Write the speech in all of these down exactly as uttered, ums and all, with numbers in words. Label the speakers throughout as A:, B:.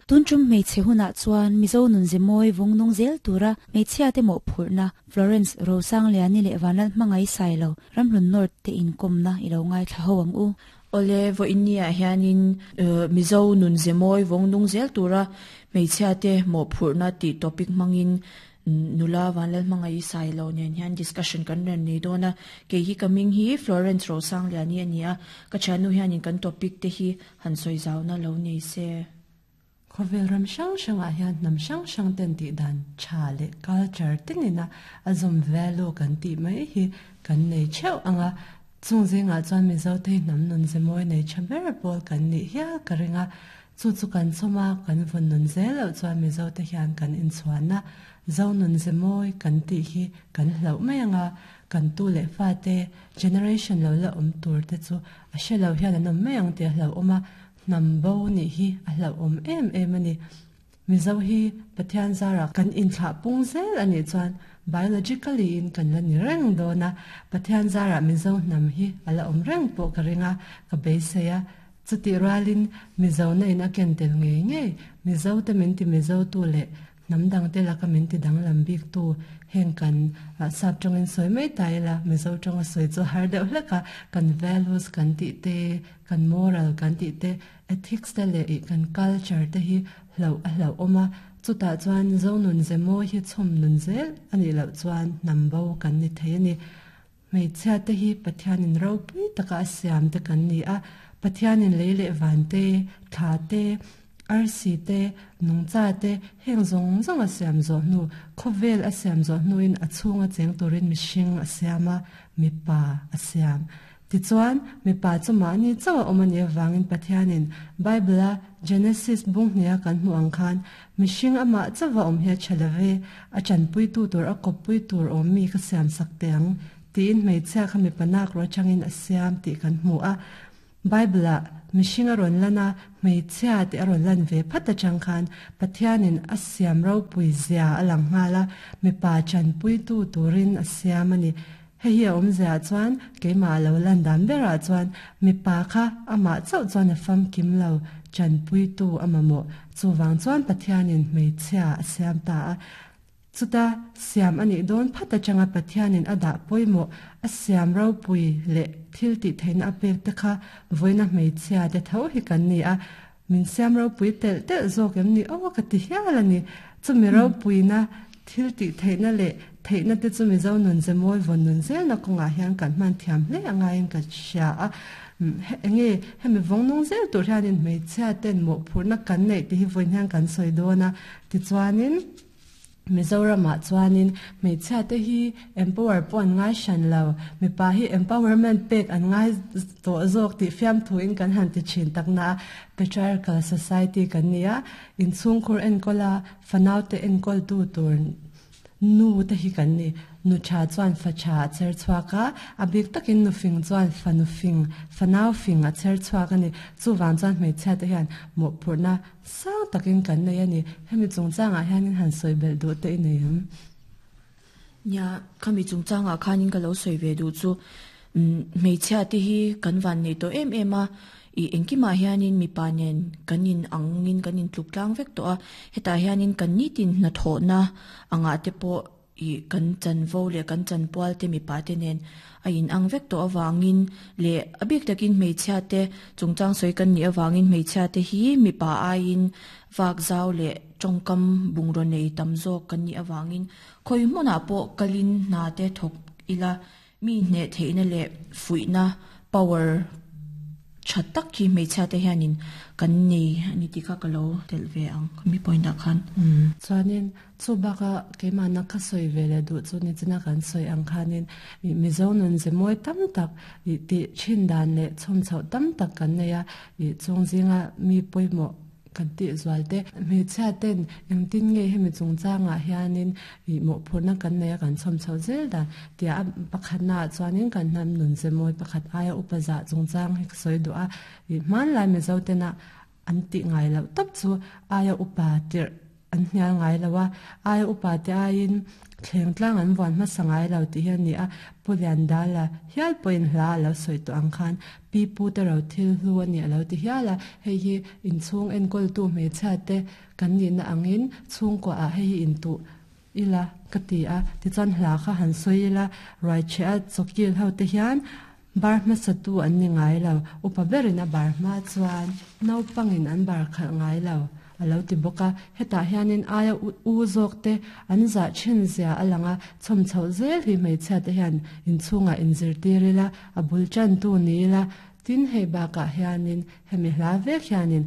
A: Tun tum hmeichhe hunah chuan Mizo nun ze mawi vawng nung zel tura hmeichhia te mawhphurhna Florence Rosangliani leh Vanlal hmangai Sailo Ramhlun North te inkawmna i lo ngaithla ho ang u.
B: Ole vo innia hianin Mizo nun ze mawi vawng nung zel tura hmeichhia te mawhphurhna tih topic hmangin nula Vanlal hmangai Sailo nen hian discussion kan ran nei dawn a. Ke hi kaming hi Florence Rosangliani ani a, ka thiannu hianin kan topic te hi han sawi zauna lo nei se.
C: Khawvel ram hrang hrangah hian hnam hrang hrang ten tih dan tha leh culture tinina a zawm value kan tih mai hi kan nei theuh anga chung zingah chuan Mizo te hnam nun ze mawi nei tha ber pawl kan nih hial ka ringa chu chu kan chawma kan vawn nun zel loh chuan Mizo te hian kan inchhuahna zo nun ze mawi kan tih hi kan hlauh mai anga kan tu leh fa te generation lo la awm tur te chu a hre lo hian an awm mai ang tih a hlauh awm a hnam bo nih hi a hlauh awm em em ani. Mizo hi Pathian zara kan inthlah pung zel ani chuan biologically in kan la ni reng dawn a Pathian zara Mizo hnam hi a la awm reng pawh ka ringa ka beisei a chuti rualin Mizo na in a ken tel ngei ngei Mizo te min ti Mizo tu leh hnam dang te laka min ti danglam bik tu heng kan sap tawngin sawi mai ta ila Mizo tawnga sawi chu har deuh hlek a kan values kan tih te kan moral kan tih te ethics te leh kan culture te hi hlo a hlo awm a chutah chuan zo nun ze mawi hi chhawm nun zel ani loh chuan hnam bo kan ni thei ani. Hmeichhia te hi Pathianin ropui taka a siam te kan ni a Pathianin lei leh van te thla te arsi te nungcha te heng zawng zawng a siam zawh hnu khawvel a siam zawh hnuin a chhunga cheng turin mihring a siam a mipa a siam. Tichuan mipa chu mahni chauh a awm ani avangin Pathianin Bible a Genesis bung hnia kan hmu ang khan mihring amah chauh a awm hi a tha love a chanpui tu tur a kawppui tur awm mi ka siam sak te ang tiin hmeichhia kha mipa nak ro atangin a siam tih kan hmu a. Bible a mihring a rawn lan a hmeichhia te a rawn lan ve phat atang khan Pathianin a siam ropui zia a lang nghal a mipa chanpui tu turin a siam ani. Hei hi a awm zia chuan keimah lo lan dan berah chuan mipa kha amah chauh chuan a famkim lo chanpui tu a mamawh chuwang chuan Pathianin hmeichhia a siam ta a chuta siam ani dawn phat atanga Pathianin a dah pawimawh a siam ropui leh thil tih theihna a pek te kha vawiina hmeichhia te tho hi kan ni a min siam ropui telh telh zawk em ni aw ka ti hial ani chumi ropuina thil tih theihna leh theihna te chu Mizo nun ze mawi vawn nun zelna kawngah hian kan hman thiam hle angaiin ka hria a enge hemi vawng nung zel tur hianin hmeichhia ten mawhphurhna kan neih te hi vawiin hian kan sawi dawn a tichuanin Mizoramah chuanin hmeichhia te hi empower pawh an ngai hran lo mipa hi empowerment pek an ngai tawh zawk tih fiam thuin kan han ti thin takna a patriarchal society kan ni a inchhungkhur enkawl a fanau te enkawl tu tur nu te hi kan ni nu tha chuan fa tha a cher chhuak a a bik takin nu fing chuan fa nu fing fanau fing a cher chhuak ani chuwang chuan hmeichhia te hian mawhphurhna sang takin kan nei ani hemi chungchangah hianin han sawi belh duh te i nei ang.
B: Nia khami chungchangah khanin ka lo sawi ve duh chu hmeichhia te hi kan van nei tawh em em a i engkimah hianin mipa nen kan in angin kan in tluk tlang vek tawh a hetah hianin kan nitin hnathawhna angah te pawh i kan chanvo leh kan chanpual te mipa te nen a in ang vek tawh awangin leh a bik takin hmeichhia te chungchang sawi kan nih awangin hmeichhia te hi mipa aiin vak zau leh tawngkam bungraw nei tam zawk kan nih awangin khawi hmunah pawh kalin hna te thawk ila mi hne theihna leh fuihna power tha tak hi hmeichhia te hianin kan nei ani tih kha ka lo telh ve ang mi point ah khan.
C: Chuanin chu baka keimah na ka sawi ve leh duh chu ni china kan sawi ang khanin Mizo nun ze mawi tam tak tih thin dan leh chhawm chhoh tam tak kan nei a chung zinga mi pawimawh kan tih zual te hmeichhia ten engtin nge hemi chungchangah hianin mawhphurhna kan nei a kan chhawm chhoh zel dan tia a pakhatna ah chuanin kan hnam nun ze mawi pakhat aia upa zah chungchang hi ka sawi duh a hmanlai Mizo tena an tih ngai loh tawp chu aia upa tirh an hnial ngai lo a ai upa te aiin thleng tlang an vuan hmasa ngai lo ti hian ni a pulian dala hial pawhin hla a lo sawi tawh ang khan pi pu te ro thil hlu ani a lo ti hial a hei hi inchhung enkawl tu hmeichhia te kan nih na angin chhungkua ah hei hi intuh ila ka ti a tichuan hla kha han sawi ila ruai che a chawkil ho te hian bar hmasa tu an ni ngai lo upa berin a bar hma chuan naupangin an bar khalh ngai lo a lo ti bawk a hetah hianin aia u zawk te an zah thin zia a lang a chhawm chhoh zel hi hmeichhia te hian inchhungah inzirtir ila a bul tan tu ni ila tin hei bakah hianin hemi hla vek hianin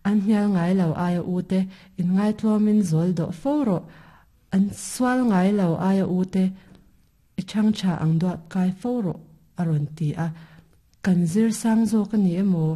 C: an hnial ngai lo aia u te in ngai tlawmin zawl dawh fo rawh an sual ngai lo aia u te i chang tha ang duah kai fo rawh a rawn ti a kan zir sang zawk ani emaw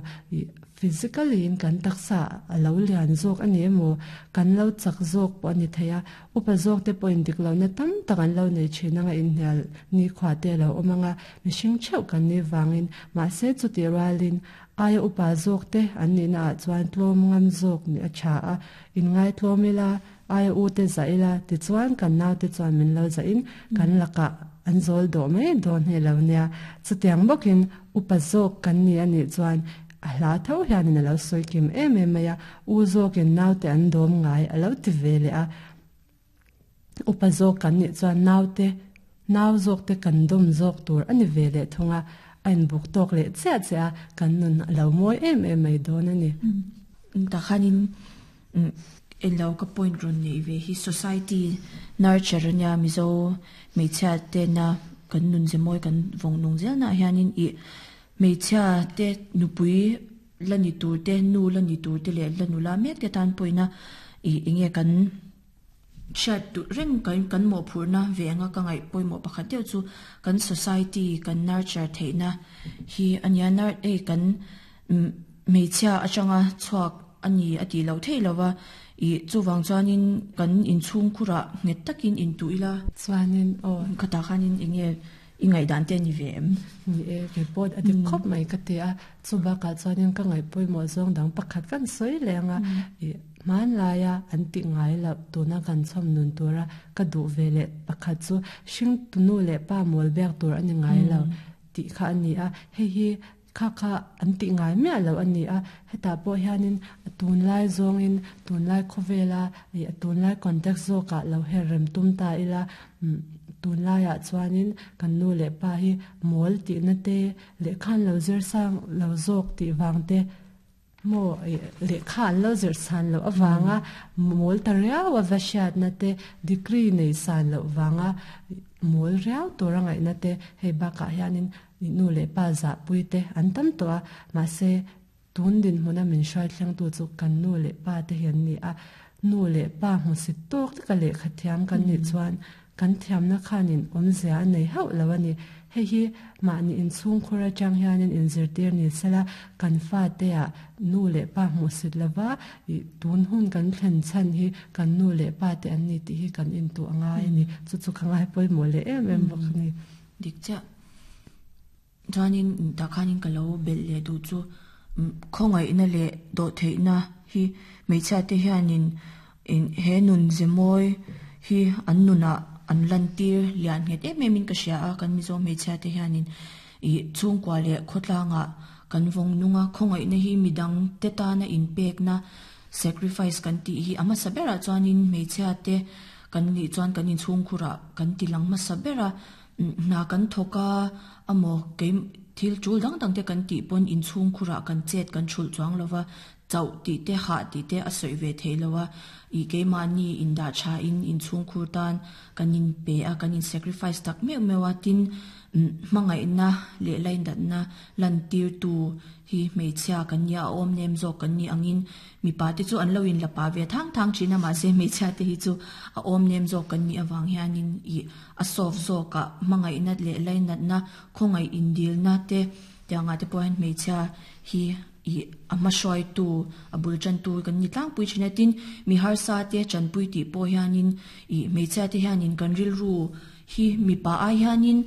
C: physically in kan taksa a lo lian zawk ani emaw kan lo chak zawk pawh ani thei a upa zawk te pawhin dik lo na tam tak an lo nei thin anga inhnial ni khua te lo awm anga mihring theuh kan ni wangin mahse chuti rualin aia upa zawk te an nih na ah chuan tlawm ngam zawk ni a tha a in ngai tlawm ila aia u te za ila tichuan kan nau te chuan min lo za in kan lakah an zawl dawh mai dawn hei lo nia chutiang bawkin upa zawk kan ni anih chuan a hla tho hianin a lo sawi kim em em mai a u zawkin nau te an dawm ngai a lo ti ve leh a upa zawk kan nih chuan nau te nau zawk te kan dawm zawk tur ani ve leh thung a a inbuk tawk leh chiah chiah a kan nun a lo mawi em em mai dawn ani.
B: Takhanin elo ka point ron nei ve hi society nurture ania mizo hmeichhia te na kan nun ze mawi kan vawng nung zel na hianin i hmeichhia te nupui la ni tur te nu la ni tur te leh la nula mek te tan pawina i enge kan hriat duh reng kan kan mawhphurhna ve anga ka ngaih pawimawh pakhat deuh chu kan society kan nurture theihna hi ania nar ei kan hmeichhia atanga chhuak ani a tih loh theih lova i chuwang chuanin kan inchhung khurah nghet takin intuh ila
C: chuanin aw
B: khatah khanin enge i ngaihdan te ani ve em
C: ni e ke pawh a dik khawp mai ka ti a chubakah chuanin ka ngaih pawimawh zawng dang pakhat kan sawi leng a i hman laia an ti ngai lo tuna kan chhawm nun tura ka duh ve leh pakhat chu hring tunu leh pa mawl bek tur ani ngai lo tih kha ani a hei hi kha kha an ti ngai miah lo ani a hetah pawh hianin a tunlai zawngin tunlai khawvela i a tunlai context zawkah lo her rem tum ta ila tunlaiah chuanin kan nu leh pa hi mawl tihna te lehkha an lo zir sang lo zawk tih vang te mo lehkha an lo zir san loh awanga mawl ta riau a va hriatna te degree nei san loh wanga mawl riau tur a ngaihna te hei bakah hianin nu leh pa zah pui te an tam tawh a mahse tun din hmuna min hruai thleng tu chu kan nu leh pa te hian ni a nu leh pa hmusit tawk taka lehkha thiam kan nih chuan kan thiamna khanin awmzia a nei hauh lo ani hei hi mahni inchhung khur atang hianin inzirtir ni sela kan fa te ah nu leh pa hmusit lova i tun hun kan thlen chhan hi kan nu leh pa te an ni tih hi kan intuh angai ani chu chu ka ngai pawimawh leh em em bawk ani
B: dik chiah chuanin takhanin ka lo belh leh duh chu khawngaihna leh dawh theihna hi hmeichhia te hianin he nun ze mawi hi an nunah an lan tir lian nghet em em in ka hria a kan mizo hmeichhia te hianin i chhungkua leh khawtlangah kan vawng nunga khawngaihna hi midang te tana inpekna sacrifice kan tih hi a hmasa berah chuanin hmeichhia te kan nih chuan kan inchhung khurah kan ti lang hmasa bera hna kan thawk a emaw kei thil tul dang dang te kan tih pawn inchhung khurah kan chet kan thulh chuang lova chauh tih te hah tih te a sawi ve thei lo a i keimahni indah tha in inchhung khur tan kan in pe a kan in sacrifice tak meuh meuh a tin hmangaihna leh laindatna lan tir tu hi hmeichhia kan nia a awm nem zawk kan ni angin mipa te chu an lo in lapa ve thang thang thin a mahse hmeichhia te hi chu a awm nem zawk kan nih awang hianin i a soft zawkah hmangaihna leh lainatna khawngaih indilna te tiangah te pawh hian hmeichhia hi i a hma tu a bul tan tu kan ni tlangpui thin a tin mi harsa te chanpui tih pawh hianin i hmeichhia te hianin kan rilru hi mipa ai hianin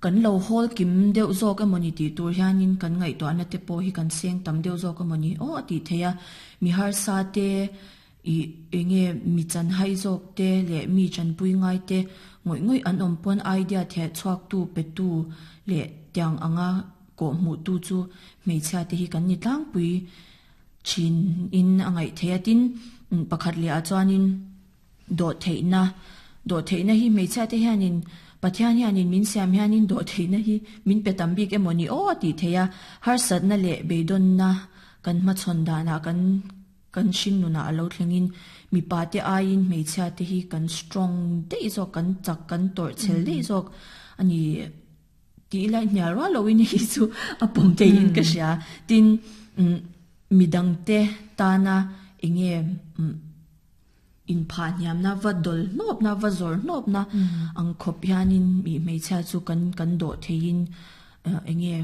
B: kan lo hawl kim deuh zawk emawni tih tur hianin kan ngaihtuahna te pawh hi kan seng tam deuh zawk emawni aw a tih theih a mi harsa te I enge mi chan hai zawk te le mi chan pui ngai te ngoi ngoi an awm pawn idea the chuak tu pe tu le tiang anga ko mu tu chu hmeichhia te hi kan ni tlang pui chin in angai theatin pakhat le a chuanin do theina do theina hi hmeichhia te hianin pathian hianin min siam hianin do theina hi min pe tam bik emoni o ti theia har sat na le beidon na kan ma chon dana kan kan shin nuna alo thlengin mi pa te aiin hmeichhia te hi kan strong dei zawk kan chak kan tor chel dei zawk ani ti lai hnial rual loin hi chu a pawm te in ka hria tin midang te tana enge in pha hniam na va dol nop na va zor nop na ang khop hianin mi hmeichhia chu kan kan do theiin enge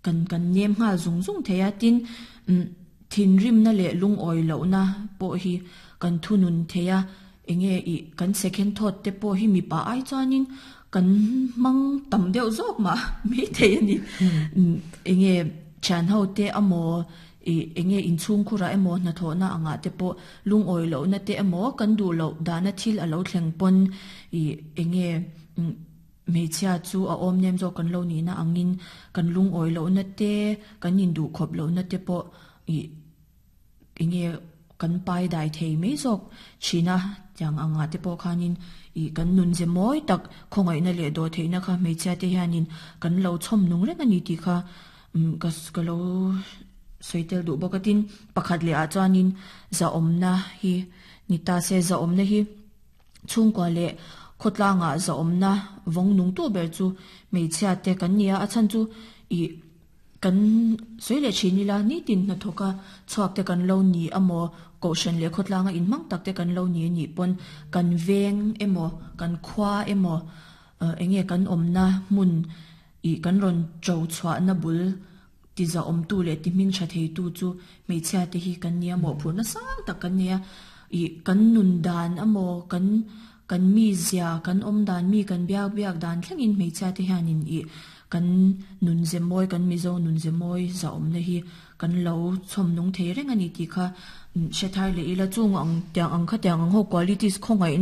B: kan kan nem nga zung zung theia tin thin rim na le lung oi lo na po hi kan thunun theia enge i kan second thought te po hi mi pa ai chuanin kan mang tam deuh zawk ma mi thei ani enge chan ho te amo i enge in chung khura emo na tho na anga te po lung oi lo na te emo kan du lo dana thil alo thleng pon i enge hmeichhia chu a awm nem zawk kan lo ni na angin kan lung oi lo na te kan in du khop lo na te po i enge kan pai dai thei mai zawk china tiang anga te po khanin i kan nun ze moi tak khongai na le do thei na kha hmeichhia te hianin kan lo chhom nung reng ani ti kha ka ka lo soitel du bokatin pakhat le a chuanin za awmna hi nita se za awmna hi chhungkua le khotlanga za awmna vawng nung tu ber chu hmeichhia te kan nia a chan chu i kan soi le thinila ni tin na thoka chuak te kan lo ni amo ko shan le khotlanga in mang tak te kan lo ni ni pon kan veng emo kan khwa emo enge kan awmna mun i kan ron chau chhuah na bul ti za awm tu le ti hming tha thei tu chu hmeichhia te hi kan nia mo phur na sang tak kan nia i kan nun dan amo kan kan mi zia kan awm dan mi kan biak biak dan thlengin hmeichhia te hianin i kan nun ze mawi kan mizo nun ze mawi za awm na hi kan lo chhawm nung thei reng ani ti kha hre thar le ila chung ang tiang ang kha tiang ang ho qualities khawngaih na